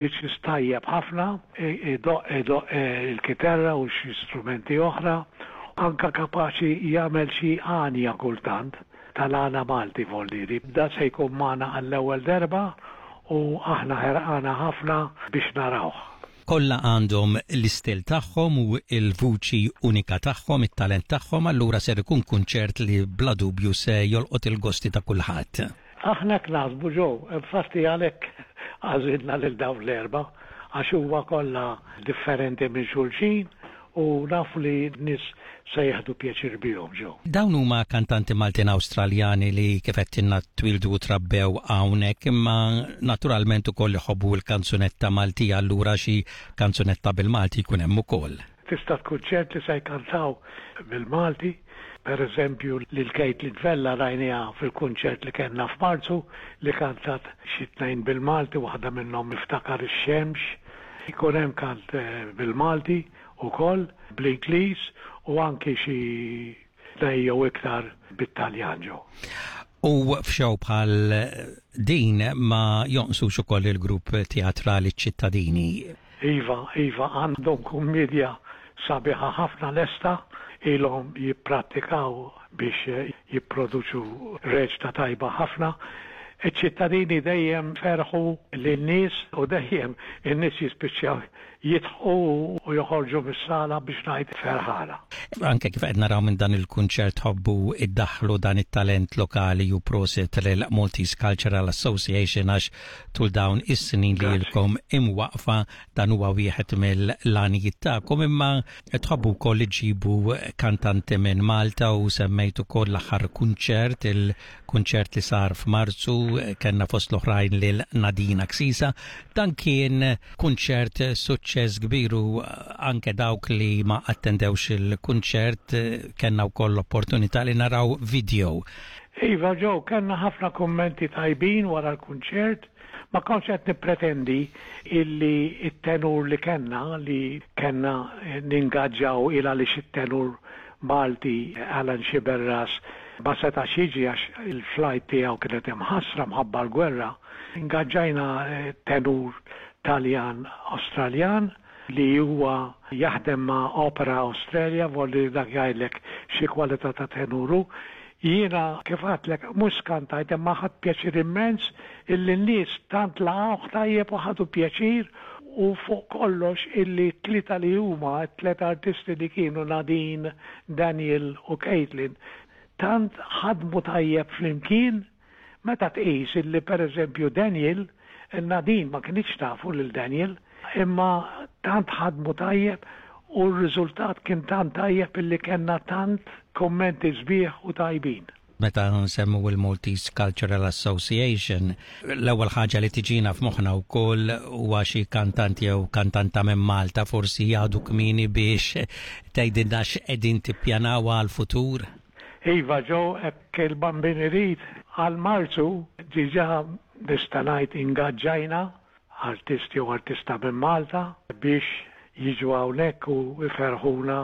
Mużiċist tajjeb ħafna, idoqq idoqq il-kiterra u xi strumenti oħra, anke kapaċi jagħmel xi għanja kultant, tal-għana Malti voldieri. Dan se jkun magħna għall-ewwel darba u aħna ħerqana ħafna biex narawh. Kollha għandhom l-istil tagħhom u l-vuċi unika tagħhom, it-talent tagħhom, allura ser ikun kunċert li bla dubju se jolqot il-gosti ta' kulħadd. Aħna hekk naħsbu Joe, infatti għalhekk għażilna lil dawn l-erbgħa għax huma kollha differenti minn xulxin u nafu li n-nies se jieħdu pjaċir bihom Joe. Dawn huma kantanti Maltin Awstraljani li kif għedtilna twieldu u trabbew hawnhekk imma naturalment ukoll iħobbu l-kanzunetta Maltija allura xi kanzunetta bil-Malti jkun hemm ukoll. Tista' tkun ċert li se jkantaw bil-Malti. Per eżempju, lil Caitlin Vella rajniha fil-kunċert li kellna f'Marzu li kantat xi tnejn bil-Malti, waħda minnhom Niftakar ix-Xemx. Ikun hemm kant bil-Malti wkoll, bl-Ingliż u anki xi tnejn jew iktar bit-Taljan ġew. U f'xow bħal din ma jonqsux ukoll il-grupp teatrali Ċittadini. Iva, iva, għandhom kummiedja sabiħa ħafna lesta, ilhom jipprattikaw biex jipproduċu reċta tajba ħafna. Iċ-ċittadini dejjem ferħu lin-nies u dejjem in-nies jispiċċaw jidħqu u joħorġu mis-sala biex ngħid ferħana. Anke kif qed naraw minn dan il-kunċert tħobbu iddaħħlu dan it-talent lokali u prosit lil Maltese Cultural Association għax tul dawn is-snin li ilkom imwaqqfa dan huwa wieħed mill-għanijiet tagħkom imma tħobbu wkoll iġibu kantanti minn Malta u semmejt ukoll l-aħħar kunċert, il-kunċert li sar f'Marzu kellna fost l-oħrajn lil Nadina Ksisa. Dan kien kunċert suċċess kbir u anke dawk li ma attendewx il-kunċert kellna wkoll l-opportunità li naraw video. Iva Joe, kellna ħafna kummenti tajbin wara l-kunċert. Ma kontx qed nippretendi illi t-tenur li kellna, li kellna ningaġġaw il għaliex it-tenur Malti Alan Sciberras ma setax jiġi għax il-flight tiegħu kienet imħassra mħabba l-gwerra. Ingaġġajna tenur Taljan Awstraljan li huwa jaħdem ma' Opera Australia, volli dak jgħidlek xi kwalità ta' tenur hu. Jiena, kif għedtlek, mhux skantajt imma ħadt pjaċir immens illi n-nies tant laqgħuh tajjeb u ħadu pjaċir u fuq kollox illi t-tlieta li huma, t-tliet artisti li kienu Nadine, Daniel u Caitlin, tant ħadmu tajjeb flimkien Meta tqis illi pereżempju Daniel, Nadine ma kinitx tafu lil Daniel, imma tant ħadmu tajjeb u r-riżultat kien tant tajjeb illi kellna tant kummenti sbieħ u tajbin. Meta nsemmu l-Maltese Cultural Association, l-ewwel ħaġa li tiġina f'moħħna wkoll huwa xi kantant jew kantanta minn Malta, forsi għadu kmieni biex tgħidilna x'qegħdin tippjanaw għall-futur? Iva Joe, hekk il-Bambin irid, għal Marzu diġà nista' ngħid ingaġġajna artist jew artista minn Malta biex jiġu hawnhekk u jferrħuna.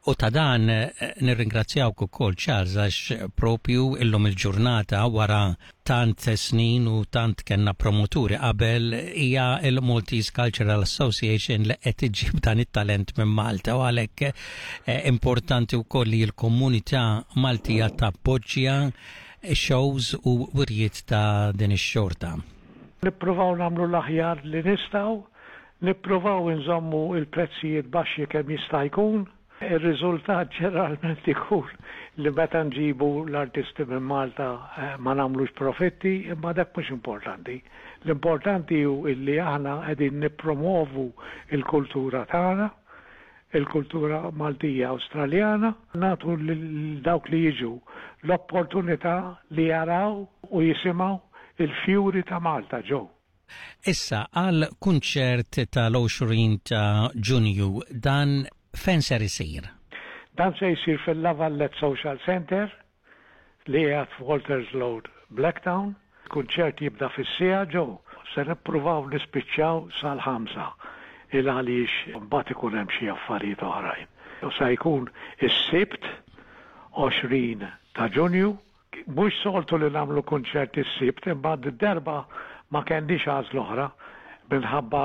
U ta' dan nirringrazzjawk ukoll Charles għax propju illum il-ġurnata wara tant snin u tant kellna promoturi qabel hija l-Maltese Cultural Association li qed iġġib dan it-talent minn Malta u għalhekk eh, importanti wkoll li l-komunità Maltija tappoġġja shows u wirjiet ta' din ix-xorta. Nippruvaw nagħmlu l-aħjar li nistgħu, nippruvaw inżommu l-prezzijiet baxxi kemm jista' jkun. Ir-riżultat ġeneralment ikun li meta nġibu l-artisti minn Malta ma nagħmlux profitti, imma dak mhux importanti. L-importanti hu illi aħna qegħdin nippromovu l-kultura tagħna, il-kultura Maltija Awstraljana, nagħtu lil dawk li jiġu l-opportunità li jaraw u jisimgħu l-fjuri ta' Malta ġew. Issa, għall-kunċert tal-20 ta' Ġunju, dan fejn ser isir? Dan se jsir fil-La Valette Social Centre li qiegħed f'Walters Road, Blacktown. Il-kunċert jibda fis-siegħa ġo. Se nippruvaw nispiċċaw sal-ħamsa il għaliex mbagħad ikun hemm xi affarijiet oħrajn. Se jkun is-Sibt 20 ta' Ġunju. Mhux soltu li nagħmlu kunċert is-Sibt imma d-darba ma kellniex għażla oħra minħabba.